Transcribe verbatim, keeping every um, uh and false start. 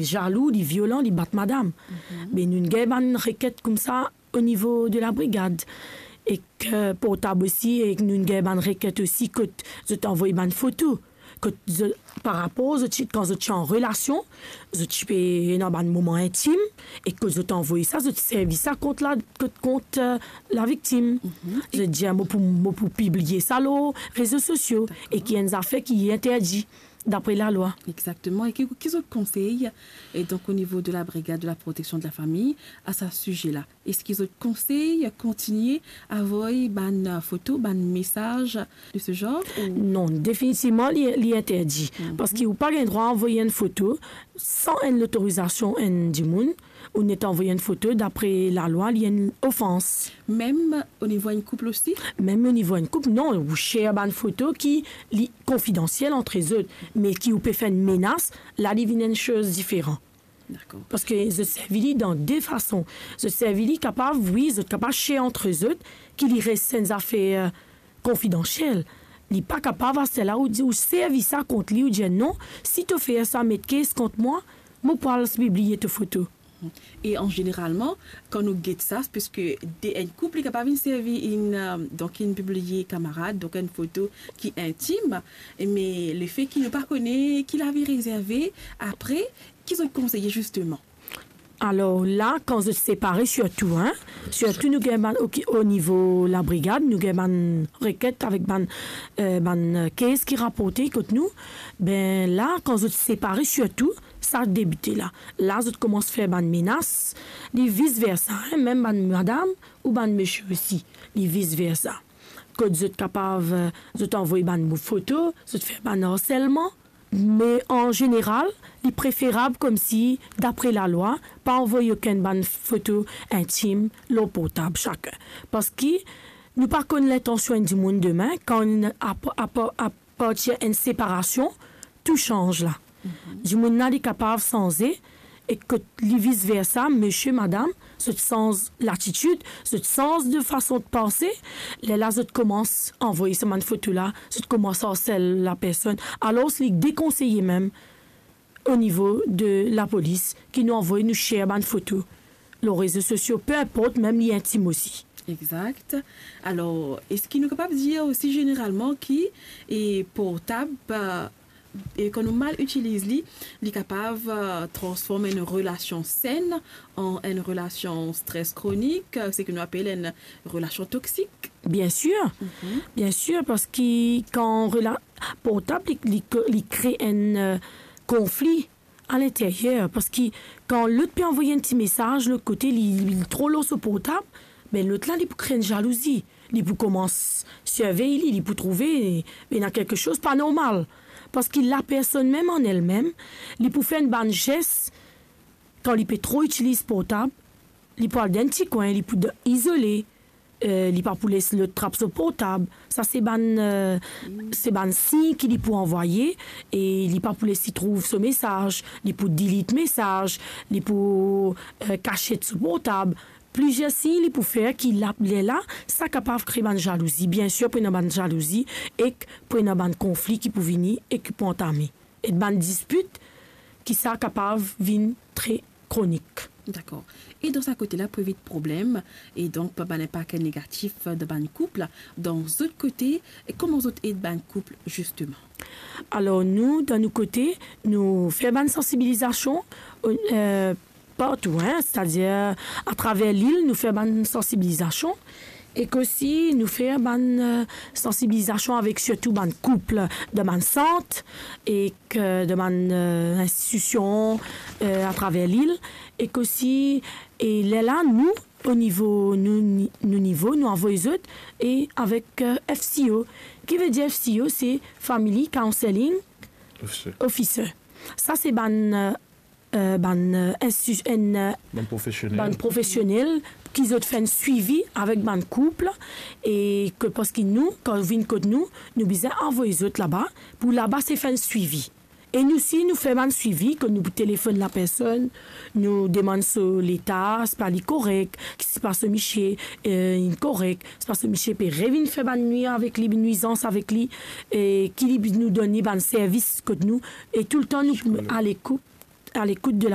zalou, li violan, li bat madam. Me nou gagn bann reket koumsa o nivo de labrigad. Ek portab osi, ek nou gagn bann reket osi kot zot anvoy bann foto. Kot zot, par rapor zot ti, kan zot ti an relasion, zot ti pe ena bann moman intim, e kot zot anvoy sa, zot servi sa kont la, kot, kont, eh, laviktim. Zot dir, "Mo pou, mo pou pibliye sa lor rezo sosio," e ki enn zafer ki interdi dapre lalwa. Exakteman. E ki, ki zot konsey, e donk, o nivo de labrigad de laproteksion de lafami, a sa size la? Eski zot konsey kontinie anvoy bann, eh, foto, bann mesaz de se genre, ou? Non, definitivman, li, li interdi. Parski ou pa gagn drwa anvoy enn foto san enn lotorizasion enn dimoun, ou net anvoy enn foto, dapre lalwa, li enn ofans. Mem o nivo enn koup osi? Mem o nivo enn koup, non, ou share bann foto ki li konfidansiel ant zot, me ki ou pe fer enn menas, la li vinn enn soz diferan. Dakor. Parski zot servi li dan de fason. Zot servi li kapav, wi, zot kapav share ant zot, ki li res enn zafer, eh, konfidansiel. Li pa kapav aster la ou dir, ou servi sa kont li, ou dir, "Non, si to fer sa, met kes kont mwa, mo pou al pibliye to foto." E an zeneralman, kan nou get sa, parski de enn koup, li kapav vinn servi enn, eh, donk, vinn pibliye kamarad, donk enn foto ki intim, me lefe ki nou pa kone ki lavi rezerve, apre, ki zot konseye zisteman? Alor la, kan zot separe sirtou, hein, sirtou nou gagn bann, oki-, o nivo labrigad, nou gagn bann reket avek bann, eh, bann, eh, kes ki raporte kot nou. Be la, kan zot separe sirtou, sa debite la. La, zot koumans fer bann menas, li vis versa, hein, mem bann madam ou bann misie osi, li vis versa. Kot zot kapav, eh, zot anvoy bann mo-, foto, zot fer bann arselman, me an zeneral, li preferab koumsi, dapre lalwa, pa anvoy okenn bann foto intim lor portab sakenn. Parski nou pa konn lintansion enn dimoun demin, kan ap-, ap-, apartir enn separasion, tou sanz la. Dimoun la, li kapav sanze, e kot li vis versa, misie, madam, zot sanz latitid, zot sanz de fason de panse, lerla zot koumans anvoy sa bann foto la, zot koumans arsel lapersonn. Alor, li dekonseye mem o nivo de lapolis ki nou anvoy, nou share bann foto lor rezo sosio, pe inport, mem li intim osi. Exakt. Alor, eski nou kapav dir osi zeneralman ki, e, portab, eh, e kan nou mal itiliz li, li kapav, eh, transform enn relasion senn an enn relasion stres kronik, eh, seki nou apel enn relasion toksik. Bien sir. Bien sir, parski kan rela-, portab, li, li, li kre enn, eh, konfli alinteryer, parski kan lot pe anvoy enn ti mesaz, lot kote, li, li tro lor so portab, be lot la, li pou kre enn zalouzi. Li pou koumans sirvey li, li pou trouve ena kelke soz pa normal. Parski lapersonn mem an elmem, li pou fer enn bann zes, kan li pe tro itiliz portab, li pou al dan enn ti kwin, li pou d-, izole, eh, li pa pou les lot trap so portab. Sa se bann, eh, se bann sign ki li pou anvoye, e li pa pou les li trouv so mesaz, li pou delete mesaz, li pou, eh, kasiet so portab. Plizier sign li pou fer ki la, lerla, sa kapav kre bann zalouzi. Bien sir, pou ena bann zalouzi, ek pou ena bann konfli ki pou vini e ki pou antame. E bann dispit ki sa kapav vinn tre kronik. Dakor. E dan sa kote la, pou evit problem, e donk pa bann inpak negatif dan bann koup la, dan zot kote, e kouma zot ed bann koup, zisteman? Alor, nou, dan nou kote, nou fer bann sansibilizasion, eh, partou, hein, setadir atraver lil, nou fer bann sansibilizasion, ek osi nou fer bann, eh, sansibilizasion avek sirtou bann koup dan bann sant, ek, eh, dan bann, eh, institision, eh, atraver lil, ek osi, e lerla, nou, o nivo, nou, nou nivo, nou anvoy zot, e avek, eh, F C O. Ki vedir F C O, se Family Counseling Officer. Officer. Sa se bann, eh, eh, bann, eh, insti-, enn, eh, bann profesionel. Bann profesionel ki zot fer enn swivi avek bann koup, e ke, parski nou, kan vinn kot nou, nou bizin anvoy zot laba, pou laba se fer enn swivi. E nou si nou fer bann swivi, ke nou pou telefonn lapersonn, nou demann so leta, si pa li korek, si pa so misie, eh, inn korek, si pa so misie pe revinn fer bann nwi avek li, nwizans avek li, e ki li, nou donn li bann servis kot nou, e toultan nou alekout, alekout de